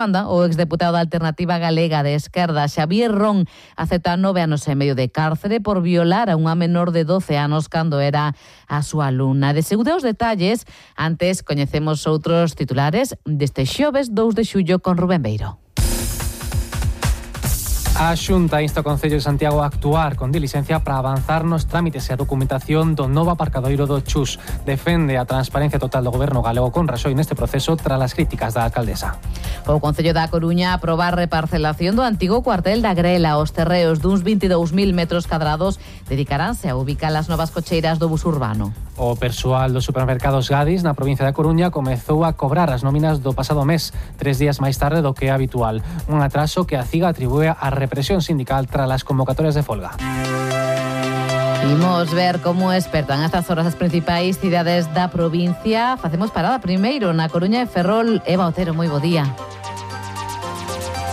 Anda, o exdeputado da Alternativa Galega de Esquerda, Xavier Ron, acepta 9 anos e medio de cárcere por violar a unha menor de 12 anos cando era a súa alumna. De segundo os detalles, antes coñecemos outros titulares deste xoves 2 de xullo con Rubén Beiro. A Xunta insta o Concello de Santiago a actuar con diligencia para avanzar nos trámites e a documentación do novo aparcadoiro do Chus. Defende a transparencia total do Goberno galego con Raxoi neste proceso tras as críticas da alcaldesa. O Concello da Coruña aproba a reparcelación do antigo cuartel da Grela. Os terreos duns 22.000 metros cadrados dedicaránse a ubicar as novas cocheiras do bus urbano. O persoal dos supermercados Gadis na provincia da Coruña comezou a cobrar as nóminas do pasado mes, 3 días máis tarde do que é habitual. Un atraso que a CIGA atribúe a represión sindical tras as convocatorias de folga. Imos ver como espertan estas horas as principais cidades da provincia. Facemos parada primeiro na Coruña e Ferrol. Eva Otero, moi bo día.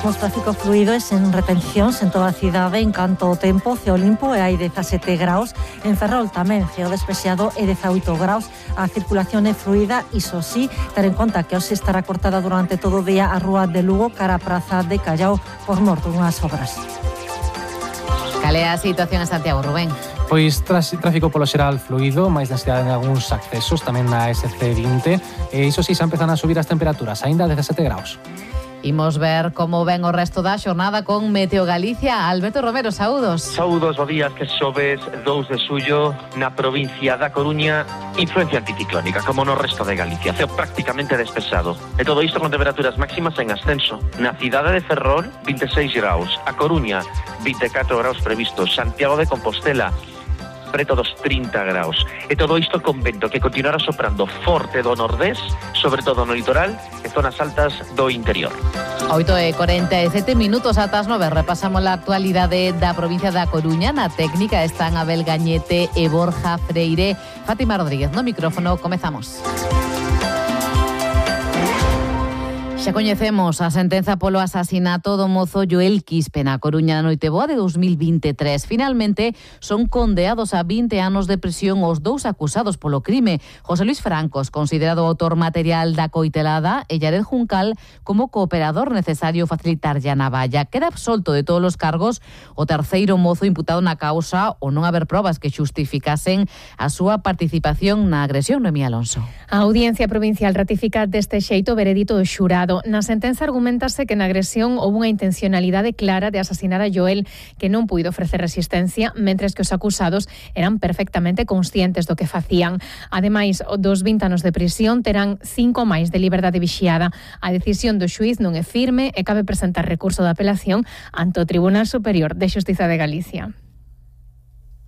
Os tráfico fluido e sen retencións en toda a cidade en canto ao tempo. Ceo limpo e hai 17 graus. En Ferrol tamén ceo despexado e 18 graus. A circulación é fluida, iso sí, ter en conta que hoxe estará cortada durante todo o día a rúa de Lugo cara a Praza de Callao por mor dunhas obras. Cal é a situación en Santiago, Rubén? Pois tráfico polo xeral fluido, máis densidade en algúns accesos, tamén na SC20, e iso sí, xa empezan a subir as temperaturas, aínda 17 graus. Imos ver como ven o resto da xornada con Meteo Galicia. Alberto Romero, saúdos. Saúdos, bo días, que xoves 2 de xullo na provincia da Coruña, influencia anticiclónica, como no resto de Galicia, ceo prácticamente despexado. E todo isto con temperaturas máximas en ascenso. Na cidade de Ferrol, 26 graus, a Coruña, 24 graus previstos, Santiago de Compostela, preto dos 30 graus. E todo isto con vento que continuará soprando forte do nordés, sobre todo no litoral e zonas altas do interior. 8:47 minutos ata as 9. Repasamos a actualidade da provincia da Coruña. Na técnica están Abel Gañete e Borja Freire. Fátima Rodríguez no micrófono. Comezamos. Xa coñecemos a sentenza polo asasinato do mozo Joel Quispe na Coruña na Noiteboa de 2023. Finalmente, son condeados a 20 anos de prisión os dous acusados polo crime. José Luis Francos, considerado autor material da coitelada, e Yared Juncal como cooperador necesario facilitarlle a navalla. Queda absolto de todos os cargos o terceiro mozo imputado na causa o non haber probas que xustificasen a súa participación na agresión. Noemí Alonso. A Audiencia Provincial ratifica deste xeito o veredito do xurado. Na sentenza argumentase que na agresión houve unha intencionalidade clara de asasinar a Joel, que non puido ofrecer resistencia, mentres que os acusados eran perfectamente conscientes do que facían. Ademais, dos 20 anos de prisión terán 5 máis de liberdade vixiada. A decisión do xuíz non é firme e cabe presentar recurso de apelación ante o Tribunal Superior de Xustiza de Galicia.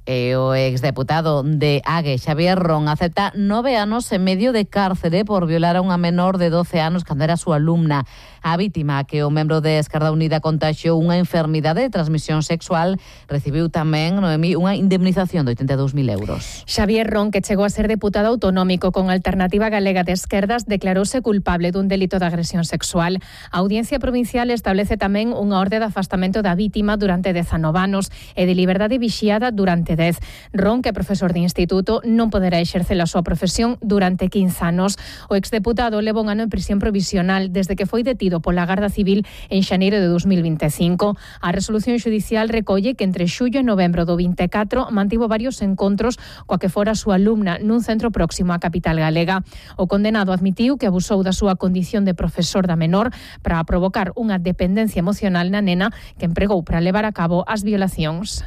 E o exdeputado de Ague, Xavier Ron, acepta 9 anos e medio de cárcere por violar a unha menor de 12 anos cando era a súa alumna. A vítima, que o membro de Esquerda Unida contaxiou unha enfermidade de transmisión sexual, recibiu tamén, Noemí, unha indemnización de 82.000 euros. Xavier Ron, que chegou a ser deputado autonómico con Alternativa Galega de Esquerdas, declarouse culpable dun delito de agresión sexual. A Audiencia Provincial establece tamén unha orde de afastamento da vítima durante 19 anos e de liberdade vixiada durante 10. Ron, que é profesor de instituto, non poderá exercer a súa profesión durante 15 anos. O exdeputado leva un ano en prisión provisional desde que foi detido pola Garda Civil en xaneiro de 2025. A resolución xudicial recolle que entre xullo e novembro do 24 mantivo varios encontros coa que fora a súa alumna nun centro próximo á capital galega. O condenado admitiu que abusou da súa condición de profesor da menor para provocar unha dependencia emocional na nena que empregou para levar a cabo as violacións.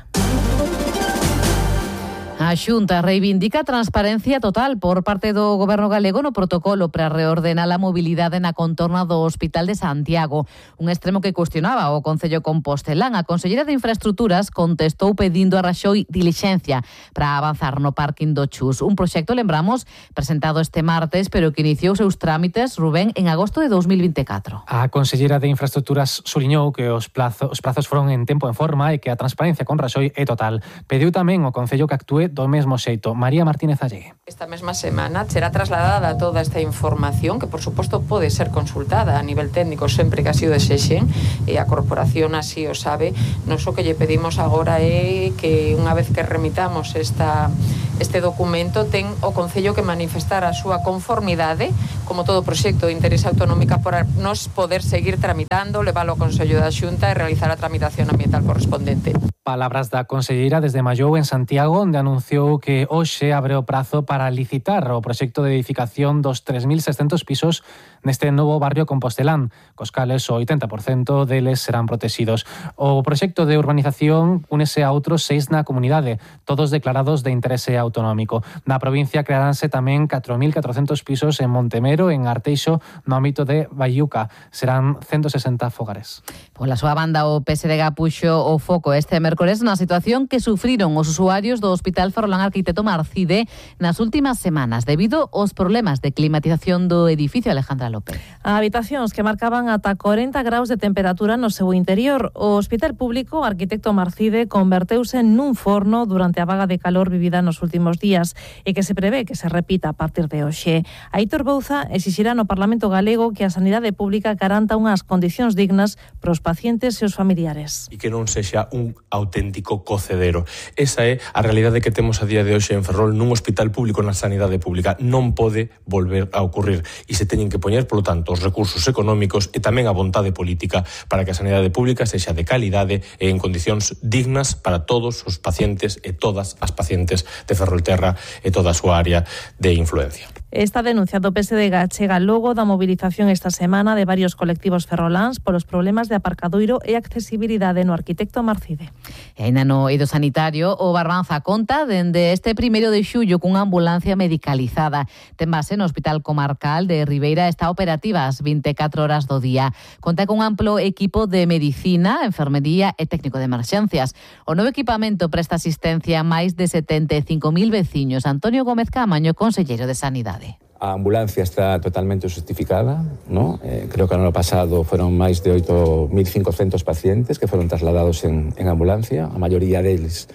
A Xunta reivindica transparencia total por parte do Goberno galego no protocolo para reordenar a mobilidade na contorna do Hospital de Santiago, un extremo que cuestionaba o Concello compostelán. A Conselleira de Infraestructuras contestou pedindo a Raxoi dilixencia para avanzar no parking do Chus, un proxecto, lembramos, presentado este martes, pero que iniciou seus trámites, Rubén, en agosto de 2024. A Conselleira de Infraestructuras suliñou que os prazos foron en tempo en forma e que a transparencia con Raxoi é total. Pediu tamén ao Concello que actúe do mesmo xeito. María Martínez Allegue. Esta mesma semana será trasladada toda esta información, que por suposto pode ser consultada a nivel técnico sempre que así o desexen, e a corporación así o sabe. Nos o que lle pedimos agora é que unha vez que remitamos este documento ten o Concello que manifestar a súa conformidade como todo proxecto de interés autonómica, por nos poder seguir tramitando, leválo ao Consello da Xunta e realizar a tramitación ambiental correspondente. Palabras da conselleira desde Mallou en Santiago, onde anunciou que hoxe abre o prazo para licitar o proxecto de edificación dos 3.600 pisos neste novo barrio compostelán, cos cales o 80% deles serán protegidos. O proxecto de urbanización únese a outros 6 na comunidade, todos declarados de interese autonómico. Na provincia crearánse tamén 4.400 pisos en Montemero, en Arteixo, no ámbito de Baiuca. Serán 160 fogares. Pola súa banda, o PSDG puxo o foco este mércores na situación que sufriron os usuarios do Hospital Ferrolán Arquitecto Marcide nas últimas semanas debido aos problemas de climatización do edificio. Alejandra López. Habitacións que marcaban ata 40 graus de temperatura no seu interior. O Hospital Público Arquitecto Marcide converteuse nun forno durante a vaga de calor vivida nos últimos días e que se prevé que se repita a partir de hoxe. Aitor Bouza exixirá no Parlamento galego que a sanidade pública garanta unhas condicións dignas para os pacientes e os familiares. E que non sexa un auténtico cocedero. Esa é a realidade que temos a día de hoxe en Ferrol nun hospital público na sanidade pública. Non pode volver a ocurrir e se teñen que poñer, polo tanto, os recursos económicos e tamén a vontade política para que a sanidade pública sexa de calidade e en condicións dignas para todos os pacientes e todas as pacientes de Ferrolterra e toda a súa área de influencia. Esta denuncia do PSDG chega logo da movilización esta semana de varios colectivos ferroláns polos problemas de aparcadoiro e accesibilidade no Arquitecto Marcide. E ainda no eido sanitario, o Barbanza conta dende este 1 de xullo cunha ambulancia medicalizada. Ten base no Hospital Comarcal de Ribeira, está operativa as 24 horas do día. Conta con un amplo equipo de medicina, enfermería e técnico de emerxencias. O novo equipamento presta asistencia a máis de 75.000 veciños. Antonio Gómez Camaño, conselleiro de Sanidade. A ambulancia está totalmente justificada, ¿no? Creo que el año pasado fueron máis de 8.500 pacientes que fueron trasladados en ambulancia, a maioría deles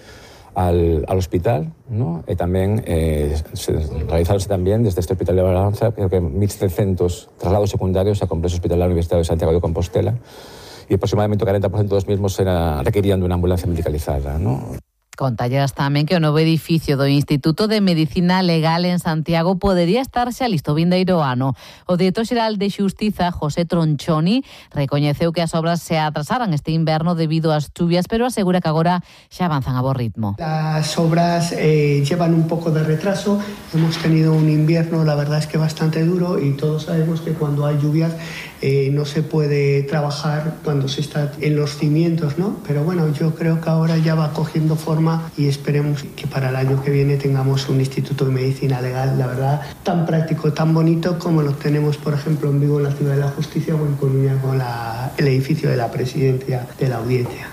al hospital, ¿no? E tamén realizaronse tamén desde este hospital de Barbanza, creo que 1.700 traslados secundarios a complexo hospitalario Universitario de Santiago de Compostela e aproximadamente o 40% dos mismos requerían de unha ambulancia medicalizada, ¿no? Contallas tamén que o novo edificio do Instituto de Medicina Legal en Santiago podería estar xa listo vindeiro ano. O director xeral de Xustiza, José Tronchoni, recoñeceu que as obras se atrasaran este inverno debido ás chuvias, pero asegura que agora xa avanzan a bo ritmo. Las obras llevan un poco de retraso. Hemos tenido un invierno, la verdad es que bastante duro, y todos sabemos que cuando hay lluvias no se puede trabajar cuando se está en los cimientos, ¿no? Pero bueno, yo creo que ahora ya va cogiendo forma y esperemos que para el año que viene tengamos un Instituto de Medicina Legal, la verdad, tan práctico, tan bonito como lo tenemos, por ejemplo, en Vigo, en la Ciudad de la Justicia, o en Coruña con el edificio de la Presidencia de la Audiencia.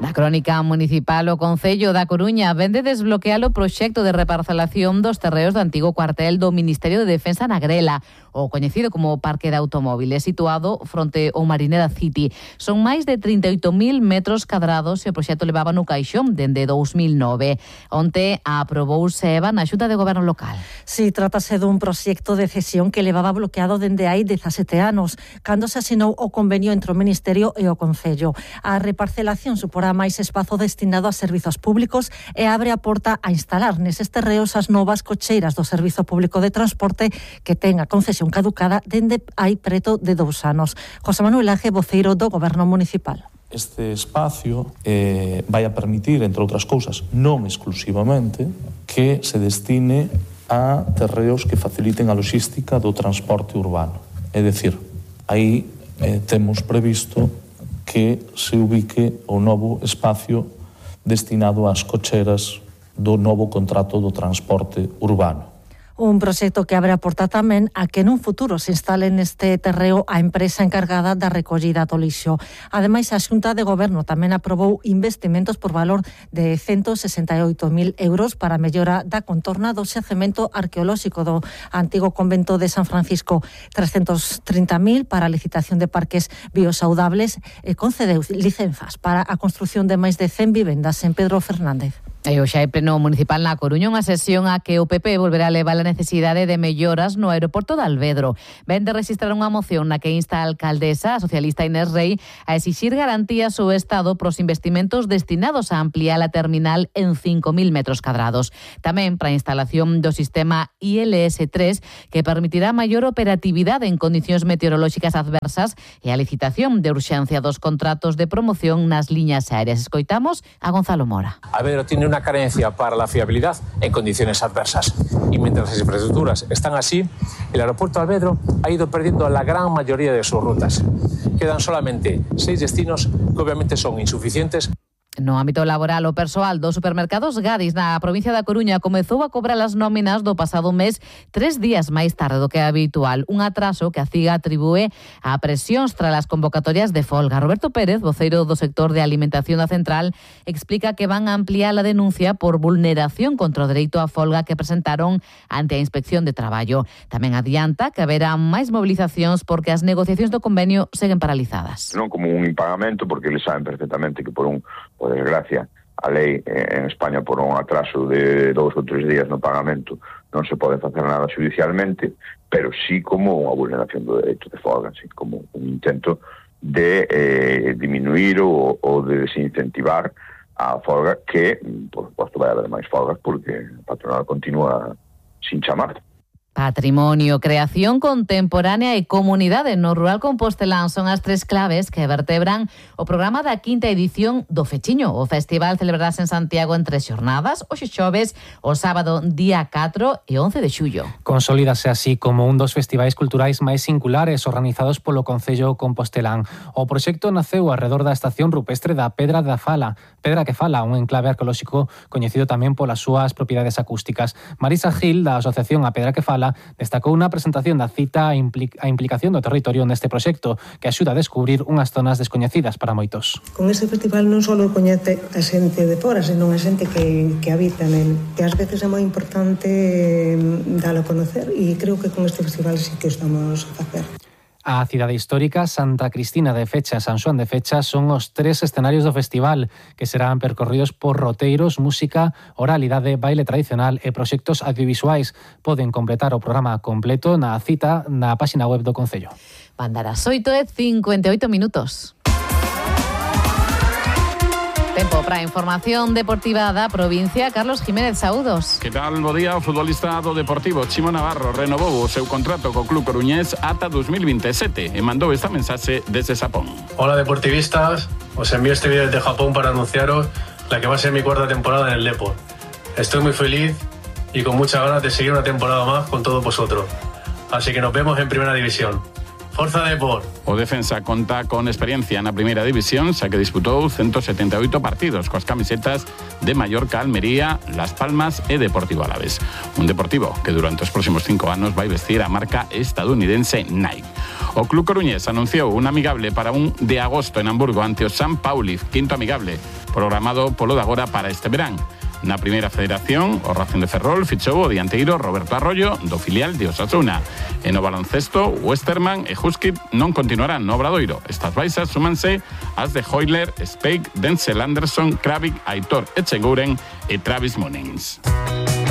Na crónica municipal, o Concello da Coruña vende desbloquear o proxecto de reparcelación dos terreos do antigo cuartel do Ministerio de Defensa na Grela, o coñecido como Parque de Automóviles, situado fronte ao Marinera City. Son máis de 38.000 metros cadrados e o proxecto levaba no caixón dende 2009. Onte aprobouse na Xunta de Goberno local. Si, trátase dun proxecto de cesión que levaba bloqueado dende hai 17 anos, cando se asinou o convenio entre o Ministerio e o Concello. A reparcelación suporá máis espazo destinado a servizos públicos e abre a porta a instalar neses terreos as novas cocheiras do Servizo Público de Transporte que ten a concesión caducada dende hai preto de 2 anos. José Manuel Aje, voceiro do Goberno Municipal. Este espacio vai a permitir, entre outras cousas, non exclusivamente, que se destine a terreos que faciliten a logística do transporte urbano. É dicir, aí temos previsto que se ubique o novo espacio destinado ás cocheras do novo contrato do transporte urbano. Un proxecto que abre a porta tamén a que nun futuro se instale neste terreo a empresa encargada da recollida do lixo. Ademais, a Xunta de Goberno tamén aprobou investimentos por valor de 168.000 euros para a mellora da contorna do xacemento arqueolóxico do antigo convento de San Francisco, 330.000 para a licitación de parques biosaudables e concedeu licenzas para a construción de máis de 100 vivendas en Pedro Fernández. E hoxe hai pleno municipal na Coruña, unha sesión a que o PP volverá a levar a necesidade de melloras no aeroporto de Alvedro. Ven de registrar unha moción na que insta a alcaldesa, a socialista Inés Rei, a exixir garantías ao Estado pros investimentos destinados a ampliar a terminal en 5.000 metros cadrados. Tamén para a instalación do sistema ILS-3, que permitirá maior operatividade en condicións meteorolóxicas adversas e a licitación de urxencia dos contratos de promoción nas liñas aéreas. Escoitamos a Gonzalo Mora. Alvedro tiene una carencia para la fiabilidad en condiciones adversas. Y mientras las infraestructuras están así, el aeropuerto de Alvedro ha ido perdiendo la gran mayoría de sus rutas. Quedan solamente 6 destinos que obviamente son insuficientes. No ámbito laboral, o persoal dos supermercados Gadis na provincia da Coruña comezou a cobrar as nóminas do pasado mes 3 días máis tarde do que é habitual. Un atraso que a CIGA atribúe a presións tras as convocatorias de folga. Roberto Pérez, voceiro do sector de alimentación da Central, explica que van a ampliar a denuncia por vulneración contra o dereito á folga que presentaron ante a Inspección de Traballo. Tamén adianta que haberá máis movilizacións porque as negociacións do convenio seguen paralizadas. Non como un impagamento, porque eles saben perfectamente que por desgracia, a lei en España por un atraso de 2 ou 3 días no pagamento non se pode facer nada judicialmente, pero sí como unha vulneración do dereito de folga, así como un intento de diminuir ou de desincentivar a folga que, por suposto, vai haber máis folgas porque a patronal continúa sin chamar. Patrimonio, creación contemporánea e comunidade no rural compostelán son as 3 claves que vertebran o programa da 5ª edición do Fechiño. O festival celebrarase en Santiago en 3 xornadas, hoxe xoves, o sábado día 4 e 11 de xullo. Consolídase así como un dos festivais culturais máis singulares organizados polo Concello Compostelán. O proxecto naceu arredor da estación rupestre da Pedra que Fala, un enclave arqueolóxico coñecido tamén polas súas propiedades acústicas. Marisa Gil, da Asociación A Pedra que Fala, destacou unha presentación da cita a implicación do territorio neste proxecto que axuda a descubrir unhas zonas descoñecidas para moitos. Con este festival non só coñece a xente de fora, senón a xente que habita nel, que ás veces é moi importante dalo a conocer, e creo que con este festival sí que estamos a facer. A cidade histórica, Santa Cristina de Fecha e San Xoán de Fecha son os 3 escenarios do festival que serán percorridos por roteiros, música, oralidade, baile tradicional e proxectos audiovisuais. Poden completar o programa completo na cita na páxina web do Concello. Van dar as 8:58 minutos. Tempo para a información deportiva da provincia. Carlos Jiménez, saúdos. Que tal, bo día? O futbolista do Deportivo, Chimo Navarro, renovou o seu contrato co club coruñés ata 2027 e mandou esta mensaxe desde Xapón. Hola deportivistas, os envío este vídeo desde Japón para anunciaros la que va a ser mi 4ª temporada en el Depor. Estoy muy feliz y con muchas ganas de seguir una temporada más con todos vosotros. Así que nos vemos en Primera División. Forza Depor. O defensa conta con experiencia na Primeira División, xa que disputou 178 partidos coas camisetas de Mallorca, Almería, Las Palmas e Deportivo Alavés. Un Deportivo que durante os próximos 5 anos vai vestir a marca estadounidense Nike. O club coruñés anunciou un amigable para un de agosto en Hamburgo ante o San Pauli, 5º amigable, programado polo de agora para este verán. Na Primeira Federación, o Racing de Ferrol fichou o dianteiro Roberto Arroyo do filial de Osasuna. E no baloncesto, Westerman e Huskip non continuarán no Obradoiro. Estas baixas súmanse as de Hoyler, Speig, Denzel Anderson, Kravik, Aitor Echeguren e Travis Munins.